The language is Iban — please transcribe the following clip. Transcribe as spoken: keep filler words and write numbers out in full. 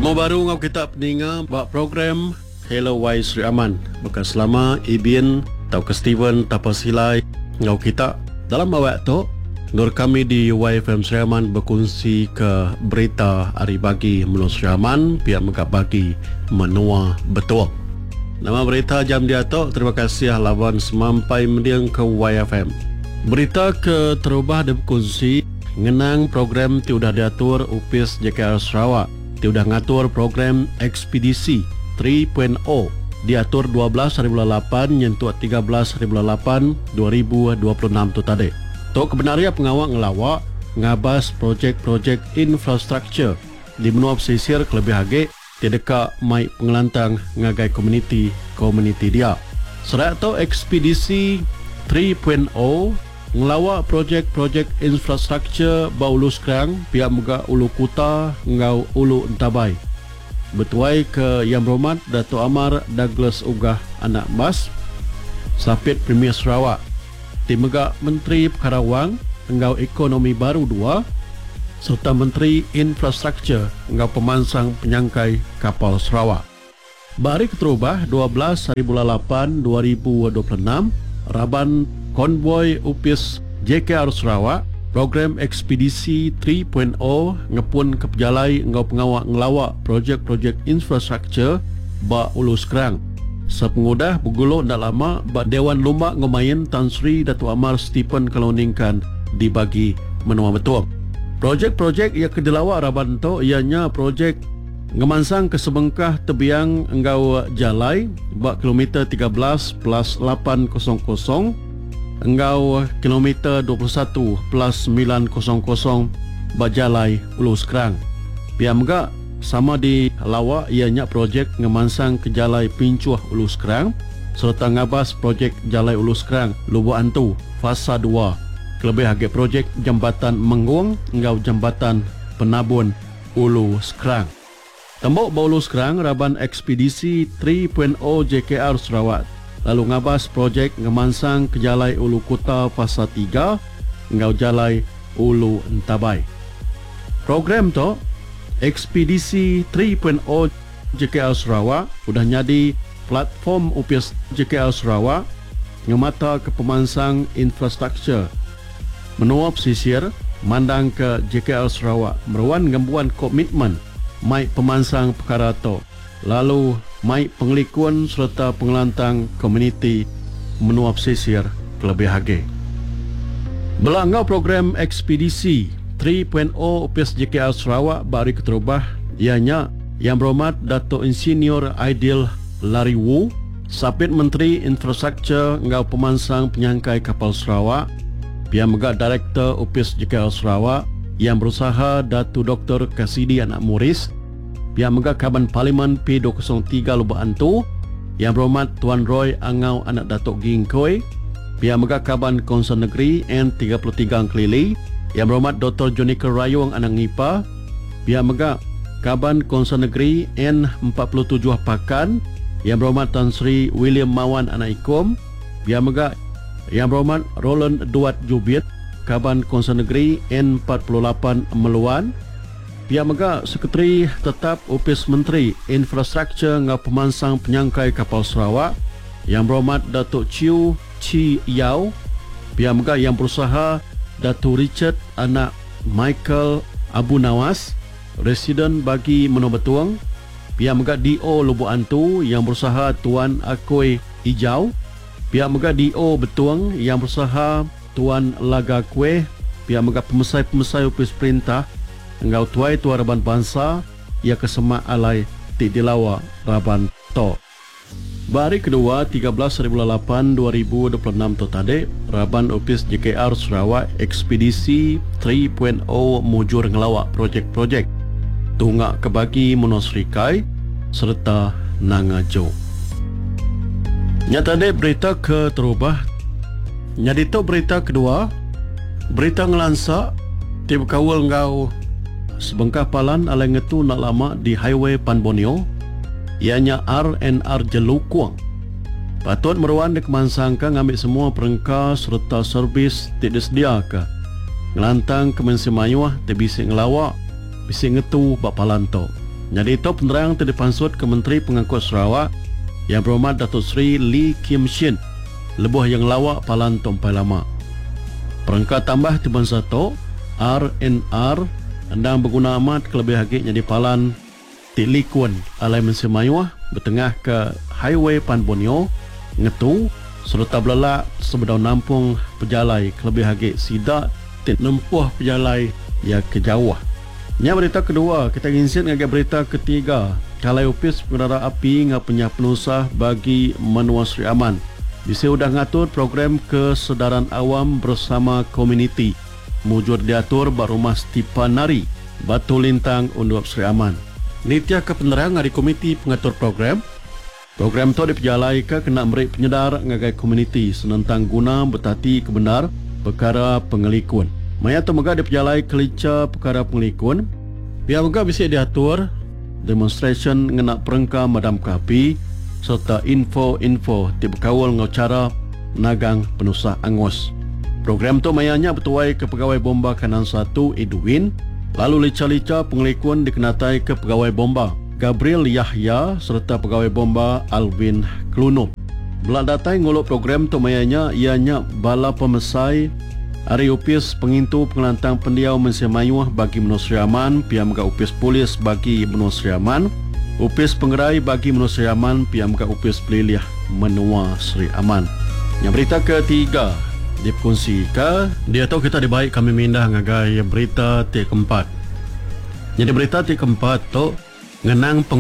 Betemu baru enggau kita peninga ba program Hello Wai Sri Aman. Baka selama Ibin tauka Steven Tapa Silai enggau kita dalam awak tu endur kami di Y F M Sri Aman bekunsi ke berita ari bagi menua Sri Aman pihak mega bagi menua Betong. Nama berita jam diatu, terima kasih laban semampai mending ke Y F M. Berita ke terubah dikunsi ngenang program ti udah diatur Upis J K R Sarawak. Ti udah ngatur program Ekspedisi tiga titik nol diatur dua belas hari bulan lapan nyentuk tiga belas hari bulan lapan dua ribu dua puluh enam tu tadi. Tu kebenaran pengawal ngelawak ngabas projek-projek infrastruktur di menua pesisir kelebih agi ti deka mai pengelantang ngagai komuniti-komuniti dia. Serak tu Ekspedisi tiga titik nol ngelawak projek-projek infrastruktur ba Ulu Skrang, pihak mega Ulu Kuta enggau Ulu Entabai. Betuai ke Yang Berhormat Dato' Amar Douglas Uggah Anak Mas, Sapit Premier Sarawak, ti mega Menteri Perkara Wang enggau Ekonomi Baru dua, serta Menteri Infrastruktur enggau Pemansang Penyangkai Kapal Sarawak. Ba hari keterubah dua belas hari bulan lapan dua ribu dua puluh enam, raban konvoi Upis J K R Sarawak program Ekspedisi tiga titik nol ngepun ke pejalai enggau pengawak ngelawak projek-projek infrastruktur ba Ulu Skrang. Sepengudah bergulung dak lama ba Dewan Lumba Ngomain Tan Sri Dato' Amar Stephen Kalong Ningkan dibagi menua Betong. Projek-projek yang kedelawak raban tu ianya projek ngemansang ke sebengkah tebiang enggau jalai ba kilometer tiga belas plus lapan kosong kosong enggau kilometer dua puluh satu plus sembilan kosong kosong ba jalai Ulu Skrang. Pihak mega sama di lawak ianya projek ngemansang ke jalai Pincuh Ulu Skrang serta ngabas projek jalai Ulu Skrang Lubok Antu fasa dua. Kelebih agi projek Jambatan Menggong enggau Jambatan Penabun Ulu Skrang. Tembok ba Ulu Skrang raban Ekspedisi tiga titik nol J K R Sarawak lalu ngabas projek ngemansang ke jalai Ulu Kuta fasa tiga enggau jalai Ulu Entabai. Program tu Ekspedisi tiga titik nol J K R Sarawak udah nyadi platform Upis J K R Sarawak ngemata ke pemansang infrastruktur menua pesisir mandang ke J K R Sarawak meruan ngembuan komitmen mai pemansang perkara tu lalu mai pengelikun serta pengelantang komuniti menua pesisir kelebih agi. Belangau program Ekspedisi tiga titik nol Upis J K R Sarawak ba hari keterubah ianya Yang Berhormat Dato' Insinyur Aidil Lariwoo, Sapit Menteri Infrastruktur enggau Pemansang Penyangkai Kapal Sarawak, pihak mega Direktur Upis J K R Sarawak yang berusaha Datu Doktor Kasidi Anak Muris, pihak mega Kaban Parlimen P dua kosong tiga Lubok Antu Yang Berhormat Tuan Roy Angau Anak Datuk Gingkoi, pihak mega Kaban Konsel Negeri N tiga puluh tiga Engkelili Yang Berhormat Doktor Jonica Rayong Anak Ngipa, pihak mega Kaban Konsel Negeri N empat puluh tujuh Pakan Yang Berhormat Tan Sri William Mawan Anak Ikom, pihak mega Yang Berhormat Roland Duat Jubit, Kaban Konsel Negeri N empat puluh lapan Meluan, pihak mega Sekretari Tetap Opis Menteri Infrastruktur enggau Pemansang Penyangkai Kapal Sarawak Yang Berhormat Datuk Chiu Chi Yao, pihak mega Yang Berusaha Datuk Richard Anak Michael Abu Nawas, Residen bagi Menua Betong, pihak mega D O Lubok Antu Yang Berusaha Tuan Akoi Ijau, pihak mega D O Betong Yang Berusaha Tuan Laga Kueh, pihak mega pemesai-pemesai Opis Perintah enggau tuai tua raban bangsa ia kesemak alai ti dilawa raban to. Ba hari kedua tiga belas hari bulan lapan dua ribu dua puluh enam tu tadi, raban Opis J K R Sarawak Ekspedisi tiga titik nol mujur ngelawak projek-projek tunga ke bagi Menua Serikai serta Nanga Jok. Nyata dek berita ke terubah. Nyadi tu berita kedua, berita ngelansa ti berkaul enggau sebengkah palan alai ngetu nak lama di Highway Pan Borneo, ianya R and R Jelukung. Patut meruan dikemansangka ngambil semua perengka serta servis ti disediaka. Ngelantang ke mensia mayuh ti bisi ngelawak, bisi ngetu ba palan tu. Nyadi tu penerang ti dipansut ke Menteri Pengangkut Sarawak Yang Berhormat Datuk Seri Lee Kim Shin lebuh iya ngelawa palan tu empai lama. Perengka tambah ti bansa tu R and R endang beguna amat kelebih agi nyadi palan ti likun alai mensia mayuh betengah ke Highway Pan Borneo ngetu sereta belelak sebedau nampung pejalai kelebih agi sida ti nempuh pejalai iya ke jauh. Nya berita kedua, kita nginsit ngagai berita ketiga. Kalai Opis Pengerara Api enggau Penyah Penusah bagi Menua Sri Aman bisi udah ngatur program kesedaran awam bersama komuniti mujur diatur ba Rumah Stipa Nari, Batu Lintang, Undup Sri Aman. Nitihka penerang ari komiti pengatur program, program tu dipejalaika kena meri penyedar ngagai komuniti senentang guna betati ke bendar pekara pengelikun. Maya tu mega dipejalai kelicha pekara pengelikun. Pia mega bisi diatur demonstrasyen ngena perengka madamka api sereta info-info ti bekaul enggau chara nagang penusah angus. Program tu maya nya betuai ke Pegawai Bomba Kanan satu Edwin, lalu licha-licha pengelikun dikenatai ke Pegawai Bomba Gabriel Yahya sereta Pegawai Bomba Alvin Klunup. Bela datai ngulu program tu maya nya iya nya bala pemesai ari Opis Pengintu Pengelantang Pendiau Mensia Mayuh bagi Menua Sri Aman, pia mega Opis Polis bagi Menua Sri Aman, Opis Pengerai bagi Menua Sri Aman, pia mega Opis Pelilih Menua Sri Aman. Yang berita ketiga dikongsikan, diatu kita dibai kami mindah ngagai berita ti keempat. Jadi berita ti keempat tu ngenang pengawa